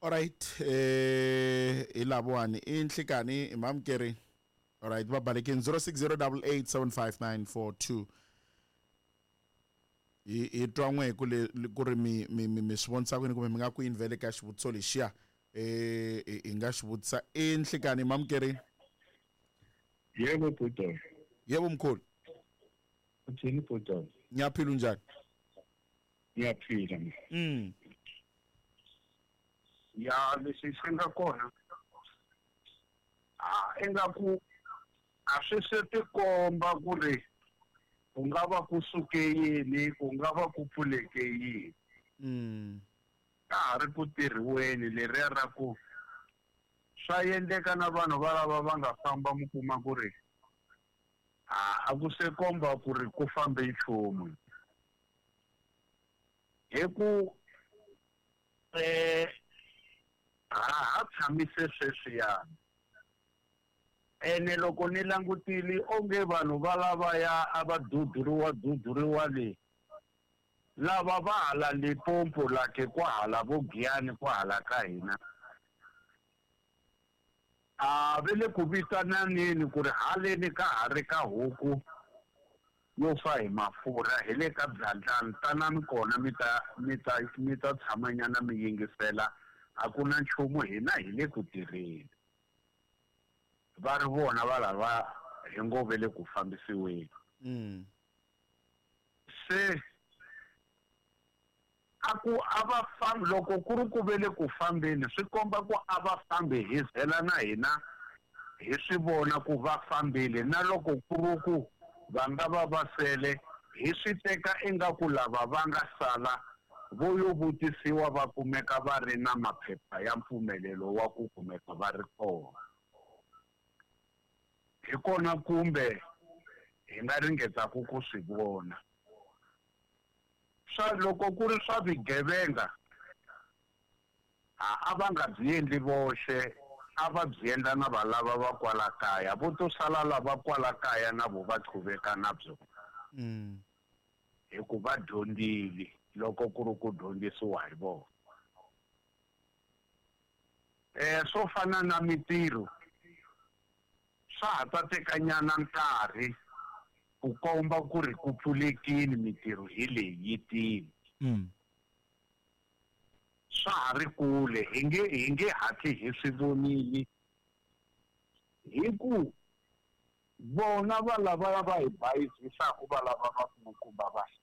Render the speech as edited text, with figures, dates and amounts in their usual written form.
Alright, hi lavowani i nhlikani i mamukeri. Alright, va balekini 0608875942. Hi twa n'we ku le ku ri mi mi mi swi vonisa kwini kumbe mi nga ku yini vhele ka xivutiso lexiya hi nga xi vutisa i nhlikani mamukeri. Yebo bhuti. Yebo mkhulu. Uthini bhuti? Ngiyaphila, unjani? Ngiyaphila. Ya, leswi swi nga kona a ingaku a swi se tikomba ku ri ku nga va ku suke yini, ku nga va ku pfuleke yini. Ka ha ri ku tirhiweni leriya ra ku swa endleka na vanhu valava va nga famba mi kuma ku ri a ku se komba ku ri ku fambe nchumu. Hi ku ha tshamise sweswiyani. Ene loko ni langutile onge vanhu va lavaya a va duduriwa le, lava va hala Limpopo lake kwahala vo Giyani kwahala ka hina, a ve le ku vitananeni ku ri haleni ka ha ri ka huku yo fa hi mafurha hi le ka byandlani, tanani kona mi ta mi ta mi ta tshamanyana mi yingisela, a ku na nchumu, hina hi le ku tirheni. Va ri vona va lava hi ngo ve le ku fambisiweni. Se a ku a va fambi, loko ku ri ku ve le ku fambeni swi komba ku a va fambi hi zela na hina hi swi vona ku va fambile, na loko ku ri ku va nga va va sele hi swi teka ingaku lava va nga sala vo yo vutisiwa va kumeka va ri na maphepha ya mpfumelelo wa ku kumeka va ri kona. Hi kona kumbe hi nga ringetaka ku swi vona. Swa loko ku ri swa vugevenga, a va nga byi endli voxe, a va byi endla na valava va kwala kaya, vo to sala lava kwala kaya na vo va qhuveka na byona. Hi ku va dyondzile loko ku ri ku dyondzisiwa hi vona. Swo fana na mitirho swa ha ta tekanyana nkarhi ku komba ku ri ku pfulekile mitirho hi leyi yi tile. Swa ha ri kule, hi nge hatli hi swi vonile hi ku vona va lava va hi bayizisaka, va lava va kulukumba va hina.